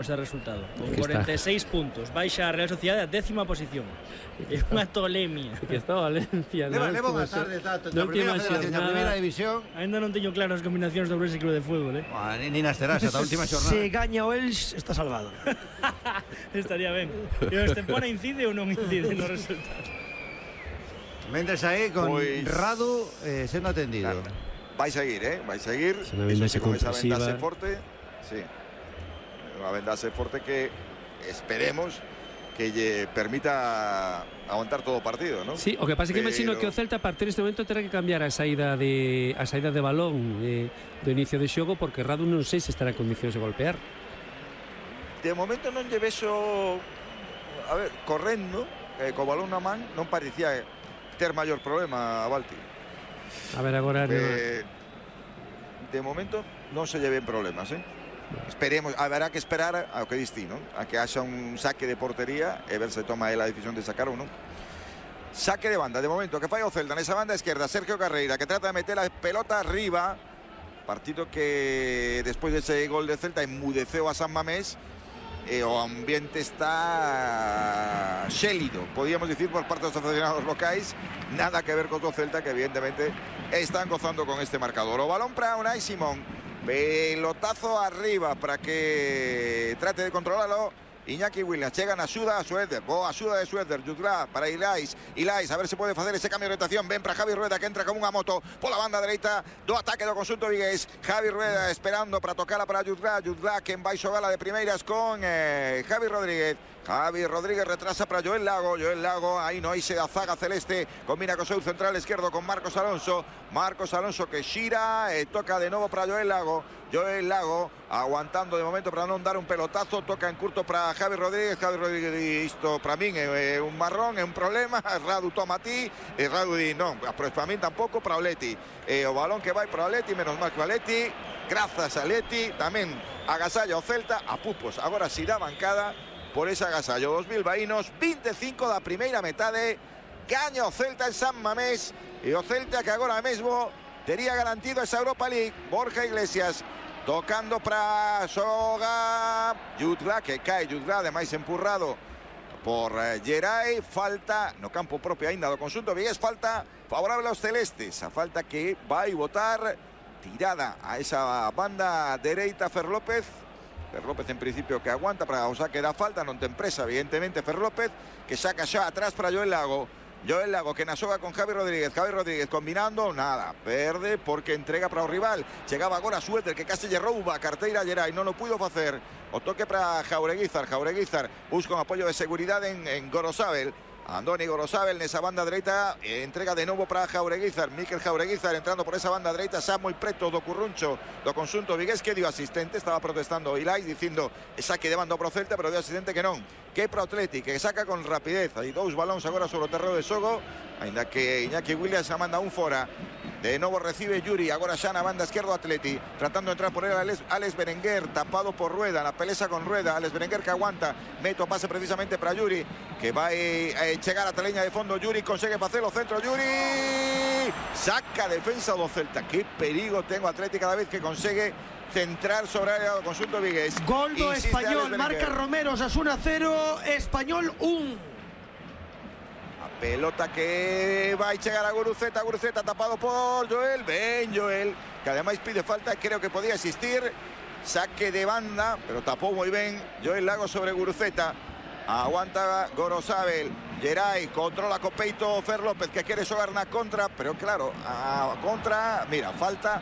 ese resultado, con 46 puntos, baixa a Real Sociedade a 10ª posición. É unha tolemia. Que está Valencia, leva unha tarde na primeira federación, na primeira división. Ainda non teño claro as combinacións do Ourense Club de Fútbol, Ni nas terás ata a última xornada. Se gaña o Els, está salvado. Estaría ben. E o Estepona incide ou non incide no resultado? Mentres aí con Radu sendo atendido. Vai seguir, vai seguir. Con esa vendaxe forte. Sí. Unha vendaxe forte que esperemos que lle permita aguantar todo o partido, ¿no? Sí, o que pasa é que imagino que o Celta a partir deste momento terá que cambiar a saída de balón do inicio de xogo, porque Radu non sei se estará en condicións de golpear. De momento non lle vexo, a ver, correndo co balón na man, non parecía ter maior problema a Balti. A ver agora de momento non se lle ven problemas, Esperemos, haberá que esperar ao que distí, ¿no? A que haxa un saque de portería e ver se toma a decisión de sacar ou non. Saque de banda, de momento, que fai o Celta nesa banda esquerda, Sergio Carreira, que trata de meter a pelota arriba. Partido que despois dese gol de Celta enmudeceu a San Mamés e o ambiente está xélido, podíamos dicir, por parte dos aficionados locais. Nada que ver co Celta, que evidentemente están gozando con este marcador. O balón para Unai Simón. Pelotazo arriba para que trate de controlarlo Iñaki Williams. Chegan axuda a Suéter. Boa axuda de Suéter. Jutgla para Ilais. A ver se pode facer ese cambio de orientación. Ben para Javi Rueda, que entra como unha moto pola banda dereita do ataque do conxunto vigués. Javi Rueda esperando para tocala para Jutgla. Jutgla que vai xogala de primeiras con Javi Rodríguez. Javi Rodríguez retrasa para Joel Lago. Joel Lago aí no eixe da zaga celeste. Combina co seu central esquerdo con Marcos Alonso. Marcos Alonso que xira e toca de novo para Joel Lago. Joel Lago aguantando de momento para non dar un pelotazo. Toca en curto para Javi Rodríguez. Javi Rodríguez, isto para min é un marrón, é un problema. Radu toma a ti. Radu di non, para min tampouco, para o Leti. O balón que vai para o Leti, menos mal que o Leti. Grazas a Leti. Tamén agasalla o Celta a pupos. Agora si da bancada por ese agasallo. 2000 vaínos, 25 da primeira metade. Gaña o Celta en San Mamés. E o Celta que agora mesmo tería garantido esa Europa League. Borja Iglesias tocando para Soga. Jutgla, que cae Jutgla, ademais empurrado por Geray. Falta no campo propio ainda do conxunto vigués. Falta favorable aos celestes. A falta que vai botar tirada a esa banda dereita Fer López. Fer López en principio que aguanta para o saque da falta. Non ten presa, evidentemente, Fer López, que saca xa atrás para Joel Lago. Joel Lago que na xoga con Javi Rodríguez. Javi Rodríguez combinando, nada, perde porque entrega para o rival. Chegaba agora Suéter, que case lle rouba a carteira a Geray, non o puido facer. O toque para Jaureguizar. Jaureguizar busca un apoio de seguridade en Gorosabel. Andoni Gorosabel nesa banda dereita, entrega de novo para Jaureguizar. Mikel Jaureguizar entrando por esa banda dereita, xa moi preto do curruncho do conxunto vigués, que dio asistente. Estaba protestando Ilais dicindo saque de banda pro Celta, pero dio asistente que non, que para o Atleti, que saca con rapidez. Hai dous balóns agora sobre o terreo de xogo, aínda que Iñaki Williams xa manda un fora. De novo recibe Yuri, agora xa na banda esquerda Atleti, tratando de entrar por él Alex Berenguer, tapado por Rueda, na pelesa con Rueda. Alex Berenguer que aguanta, mete o pase precisamente para Yuri, que vai chegar a teleña de fondo. Yuri consegue facelo, centro Yuri, saca defensa do Celta. Que perigo ten o Atleti cada vez que consegue centrar sobre a área do conxunto vigués. Gol do Español, marca Romero, Osasuna 0, Español 1. Pelota que vai chegar a Guruceta. Guruceta tapado por Joel. Ben Joel, que ademais pide falta, creo que podía existir. Saque de banda, pero tapou moi ben Joel Lago sobre Guruceta. Aguanta Gorosabel. Geray controla co peito Fer López, que quere xogar na contra, pero claro, a contra, mira, falta.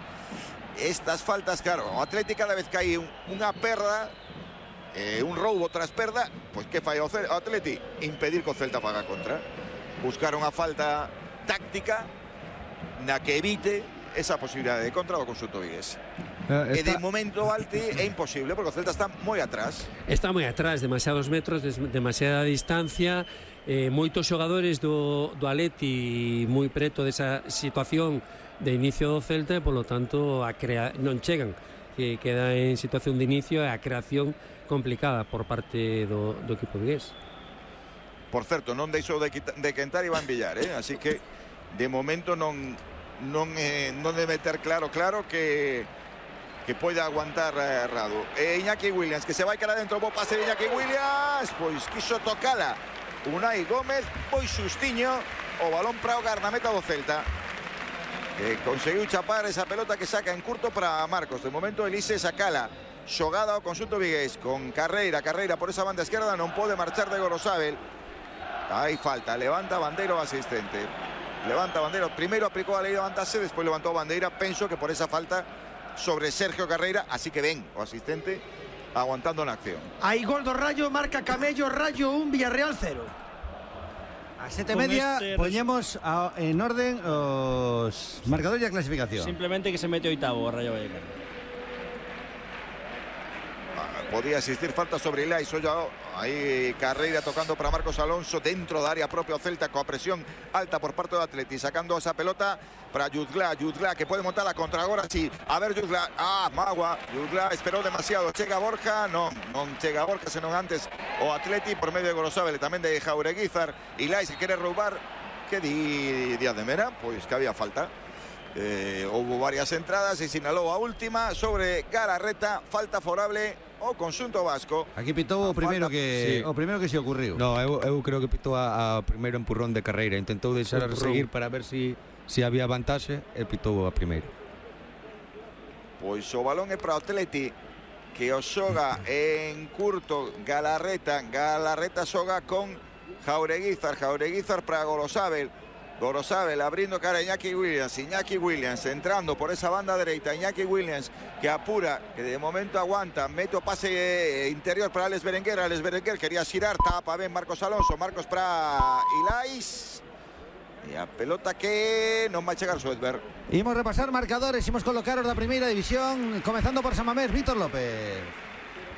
Estas faltas, claro, o Atlético cada vez que hai unha perda, un roubo tras perda, pois que fai o Atleti? Impedir que o Celta faga contra. Buscar unha falta táctica na que evite esa posibilidade de contra do conxunto vigués. E de momento, Balti, é imposible porque o Celta está moi atrás. Está moi atrás, demasiados metros, demasiada distancia, moitos xogadores do Atleti moi preto desa situación de inicio do Celta, e polo tanto non chegan, que queda en situación de inicio, e a creación complicada por parte do equipo vigués. Por certo, non deixou de quentar Iván Villar, así que de momento non debe ter claro que que pueda aguantar Radu. Iñaki Williams, que se vai cara dentro, bo pase de Iñaki Williams, pois quiso tocala Unai Gómez, pois xustiño o balón para o garnameta do Celta, que conseguiu chapar esa pelota que saca en curto para Marcos. De momento Elise sacala, xogada ao conxunto vigués con Carreira por esa banda esquerda, non pode marchar de Gorosabel. Hai falta, levanta Bandeiro asistente. Levanta Bandeiro, primeiro aplicou a lei de levantarse, despois levantou Bandeira, penso que por esa falta sobre Sergio Carreira, así que ven o asistente aguantando na acción. Hai gol do Rayo, marca Camello, Rayo 1, Villarreal 0. A 7:30 poñemos en orden os marcadores e a clasificación. Simplemente que se mete oitavo o Rayo Vallecano. Podía existir falta sobre Ilais. Aí Carreira tocando para Marcos Alonso dentro da área propia o Celta, coa presión alta por parte do Atleti, sacando esa pelota para Jutgla que pode montar a contra agora, sí. A ver Jutgla, Magua, Jutgla esperou demasiado, chega Borja, non chega Borja, senón antes o Atleti por medio de Gorosabel e tamén de Jaureguizar. Ilais que quere roubar, que di Díaz de Mera, pois que había falta. Houve varias entradas e sinalou a última sobre Galarreta, falta favorable o conxunto vasco. Aquí pitou o primeiro que se ocurriu. No, eu creo que pitou a primeiro empurrón de Carreira, intentou deixar a seguir para ver si había vantaxe e pitou a primeiro. Pois o balón é para o Atleti, que o xoga en curto Galarreta xoga con Jaureguizar para Gorosabel abrindo cara a Iñaki Williams entrando por esa banda dereita. Iñaki Williams que apura, que de momento aguanta, mete o pase interior para Alex Berenguer, quería xirar, tapa ben Marcos Alonso, Marcos para Ilais e a pelota que non vai chegar Suedberg. Imos repasar marcadores, imos colocar os da primeira división, comezando por San Mamés, Víctor López.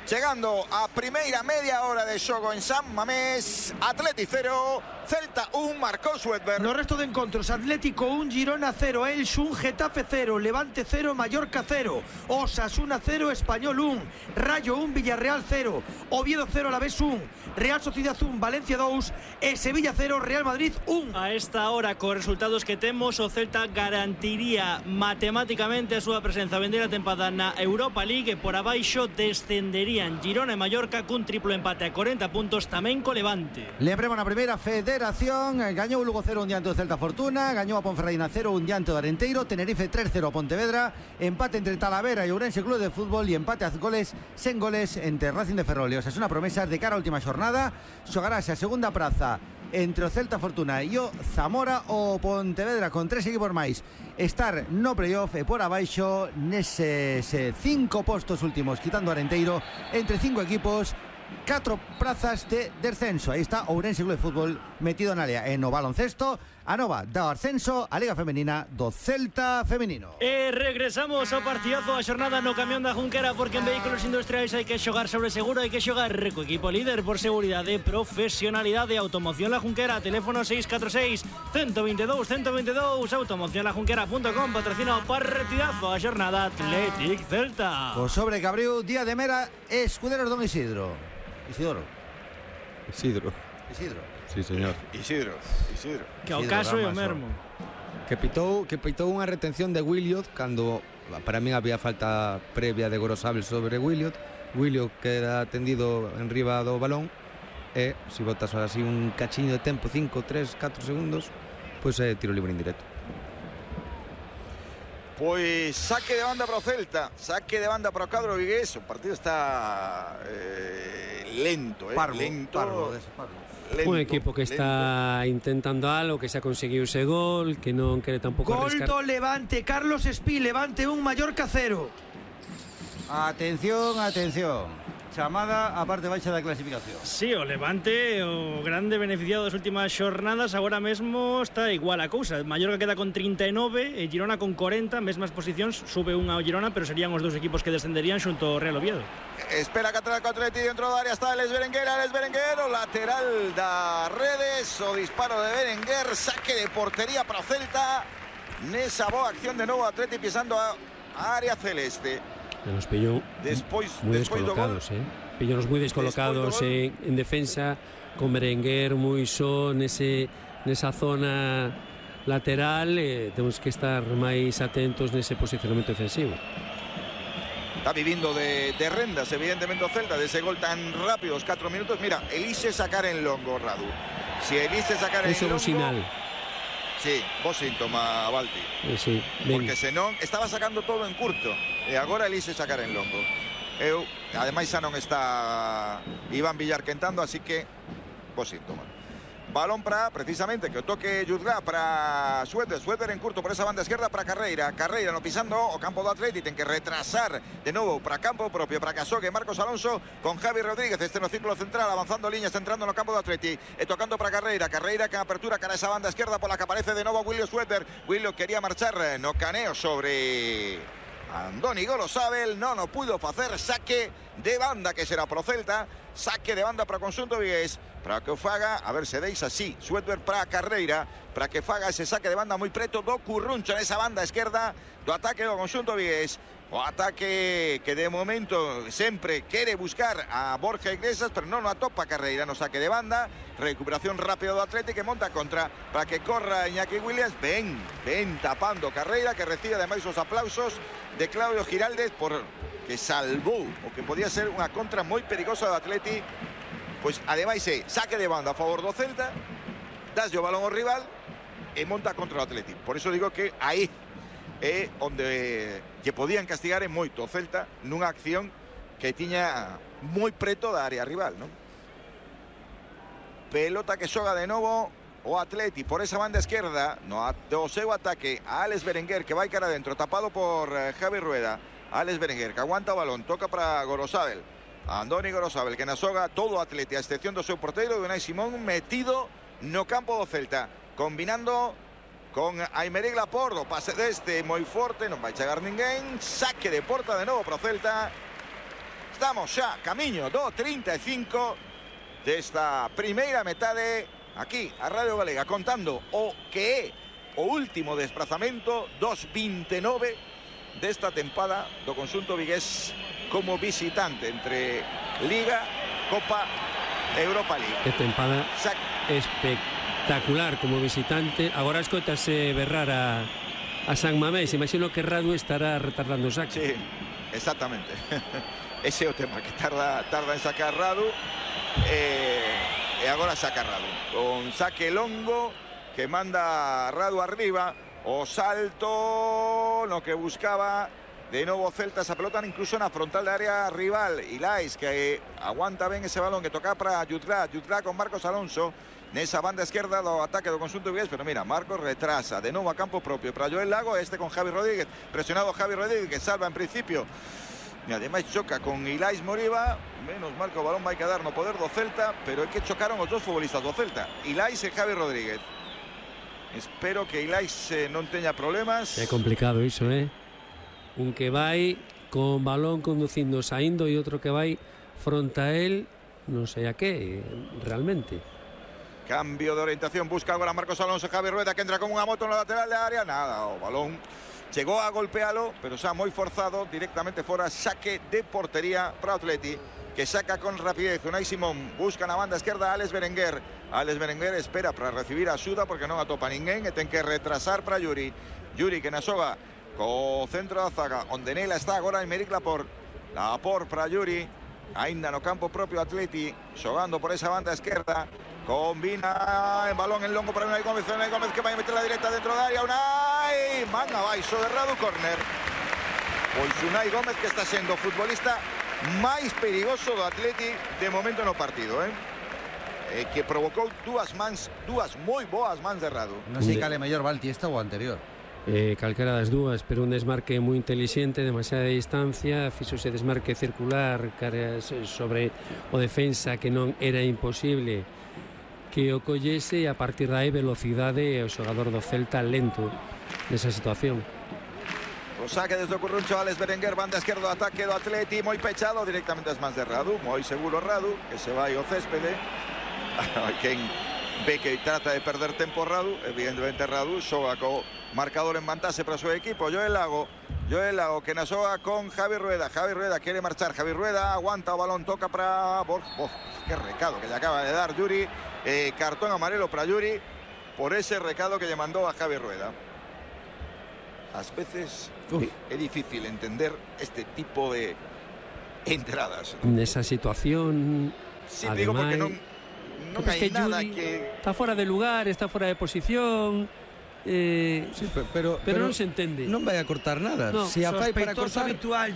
Chegando a primeira media hora de xogo en San Mamés, Atleti 0, Celta 1, marcou Suedberg. No resto de encontros, Atlético 1, Girona 0, Elx 1, Getafe 0, Levante 0, Mallorca 0, Osasuna 0, Español 1, Rayo 1, Villarreal 0, Oviedo 0, Alavés 1, Real Sociedad 1, Valencia 2 e Sevilla 0, Real Madrid 1. A esta hora, con resultados que temos, o Celta garantiría matemáticamente a súa presenza a vender a tempada na Europa League, e por abaixo descenderían Girona e Mallorca cun triplo empate a 40 puntos, tamén co Levante. Lembremos na primeira federación, gañou o Lugo 0 un diante do Celta Fortuna, gañou a Ponferradina 0 un diante do Arenteiro, Tenerife 3-0 a Pontevedra, empate entre Talavera e Ourense Club de Fútbol e empate a goles sen goles entre Racing de Ferrol e Osasuna Promesas. De cara á última xornada xogarase a segunda praza entre o Celta Fortuna e o Zamora. O Pontevedra con 3 equipos máis estar no playoff e por abaixo neses 5 postos últimos, quitando Arenteiro, entre 5 equipos, 4 prazas de descenso. Aí está Ourense Club de Fútbol metido na área. E no baloncesto, a nova do ascenso a Liga Femenina do Celta Femenino. E regresamos ao partidazo a xornada no camión da Junquera, porque en vehículos industriais hai que xogar sobre seguro, hai que xogar co equipo líder por seguridade, profesionalidade. Automoción La Junquera, teléfono 646 122 122. automocionlajunquera.com patrocina o partidazo a xornada Athletic Celta. O sobre que abriu Díaz de Mera, Escuderos Don Isidro. Isidro. Sí, señor. Isidro. Que ao caso é o mesmo. Que pitou unha retención de Williot cando para min había falta previa de Gorosabel sobre Williot. Williot queda tendido en riba do balón e se botas así un cachiño de tempo, 5, 3, 4 segundos, pois é tiro libre indirecto. Pois saque de banda para o Celta, saque de banda para o cadro vigués. O partido está lento, parvo. Un equipo que está intentando algo, que se ha conseguido ese gol, que non quere tampouco arriscar. Gol do Levante, Carlos Espí, Levante 1, Mallorca 0. Atención. Chamada a parte baixa da clasificación. Sí, o Levante, o grande beneficiado das últimas xornadas, agora mesmo está igual a cousa. Mallorca queda con 39 e Girona con 40, mesmas posicións, sube unha ao Girona, pero serían os dous equipos que descenderían xunto ao Real Oviedo. Espera que atraca o Atleti dentro da área, está Alex Berenguer, o lateral da Redes, o disparo de Berenguer, saque de portería para o Celta, nesa boa acción de novo Atleti pisando a área celeste. Nos pilló muy descolocados, Pillonos muy descolocados en defensa, con Berenguer muy só nesa zona lateral. Temos que estar máis atentos nese posicionamento defensivo. Está viviendo de rendas, evidentemente, o Celta, de ese gol tan rápido, 4 minutos. Mira, elise sacar en longo, Radu. Si elise sacar en longo... Bosinal. Sí, vos síntoma, Balti. Sí, porque senón estaba sacando todo en curto e agora elise sacar en longo. Ademais xa non está Iván Villar quentando, así que vos síntoma. Balón para, precisamente, que o toque Juzgá para Suéter en curto por esa banda esquerda para Carreira no pisando o campo do Atleti, ten que retrasar de novo para campo propio, para que asogue Marcos Alonso con Javi Rodríguez, este no círculo central, avanzando líneas, entrando no campo do Atleti, e tocando para Carreira que apertura cara a esa banda esquerda pola que aparece de novo William Suéter. William quería marchar no caneo sobre Andoni Gorosabel, non o pudo facer. Saque de banda que será pro Celta, saque de banda para o conxunto vigués, para que o faga, a ver se deixa así Suéter para Carreira, para que faga ese saque de banda moi preto do Curruncho nesa banda esquerda do ataque do conxunto vigués. O ataque que de momento sempre quere buscar a Borja Iglesias, pero non o atopa Carreira no saque de banda. Recuperación rápida do Atlético que monta contra para que corra Iñaki Williams. Ven tapando Carreira, que recibe ademais os aplausos de Claudio Giraldez por que salvou o que podía ser unha contra moi perigosa do Atleti. Pois ademais saque de banda a favor do Celta, daslle o balón ao rival e monta contra o Atleti. Por iso digo que aí é onde lle podían castigar en moito o Celta nunha acción que tiña moi preto da área rival, non? Pelota que xoga de novo o Atleti por esa banda esquerda do seu ataque a Alex Berenguer, que vai cara adentro, tapado por Javi Rueda. Alex Berenguer que aguanta o balón, toca para Gorosabel, Andoni Gorosabel, que na xoga todo o Atleti a excepción do seu porteiro, de Unai Simón, metido no campo do Celta, combinando con Aymeric Laporte. O pase deste moi forte, non vai chegar ninguén. Saque de porta de novo para o Celta. Estamos xa camiño do 35 desta primeira metade aquí a Radio Galega, contando o que é o último desplazamento dos 29 desta tempada do conxunto vigués como visitante entre Liga, Copa e Europa League. Que tempada espectacular como visitante. Agora escoitase berrar a San Mamés. Imagino que Radu estará retardando o saque. Sí, exactamente. Ese é o tema, que tarda en sacar Radu. E agora saca Radu con saque longo que manda Radu arriba. O salto no que buscaba de novo Celta esa pelota, incluso na frontal de área rival. Ilais que aguanta ben ese balón, que toca para Juzgá con Marcos Alonso nesa banda esquerda do ataque do conxunto vigués, pero mira, Marcos retrasa de novo a campo propio para Joel Lago, este con Javi Rodríguez, presionado Javi Rodríguez, que salva en principio e ademais choca con Ilais Moriba. Menos mal que o balón vai quedar no poder do Celta, pero é que chocaron os dos futbolistas do Celta, Ilais e Javi Rodríguez. Espero que Ilais non teña problemas. É complicado iso, un que vai con balón conducindo saindo e outro que vai fronte a él, non sei a que realmente. Cambio de orientación, busca agora Marcos Alonso. Javi Rueda que entra con unha moto no lateral de área, nada, o balón chegou a golpealo, pero xa moi forzado, directamente fora. Saque de portería para o Atleti, que saca con rapidez. Unai Simón busca na banda esquerda a Alex Berenguer. Alex Berenguer espera para recibir axuda porque non atopa ninguén e ten que retrasar para Yuri que na xoga co centro da zaga, onde nela está agora Aymeric Laporte para Yuri, aínda no campo propio Atleti, xogando por esa banda esquerda. Combina en balón en longo para Unai Gómez que vai meter la directa dentro da área. Unai, manga baixo de Radu, córner. Pois Unai Gómez, que está sendo o futbolista máis perigoso do Atleti de momento no partido, que provocou dúas moi boas mans de Radu. Non sei cal é mellor, Balti, esta ou anterior. Calquera das dúas, pero un desmarque moi inteligente, demasiada distancia, fixose desmarque circular sobre o defensa, que non era imposible que o collese, e a partir de aí velocidade, e o xogador do Celta lento nesa situación. O saque desde o Curruncho, Alex Berenguer, banda esquerdo, ataque do Atleti, moi pechado, directamente as mans de Radu, moi seguro Radu, que se vai ao céspede. Quen ve que trata de perder tempo Radu, evidentemente Radu xoga co marcador en vantaxe para o seu equipo. Joel Lago que na xoga con Javi Rueda quere marchar, Javi Rueda aguanta o balón, toca para Borja. Que recado que le acaba de dar Yuri, cartón amarelo para Yuri por ese recado que lle mandou a Javi Rueda. ás veces é difícil entender este tipo de entradas. Nesa situación, Sí, digo porque non hai nada Yuri que... está fora de lugar, está fora de posición. Sí, pero non se entende. non vai a cortar nada. No, Se a fai para Sospeitoso cortar, habitual,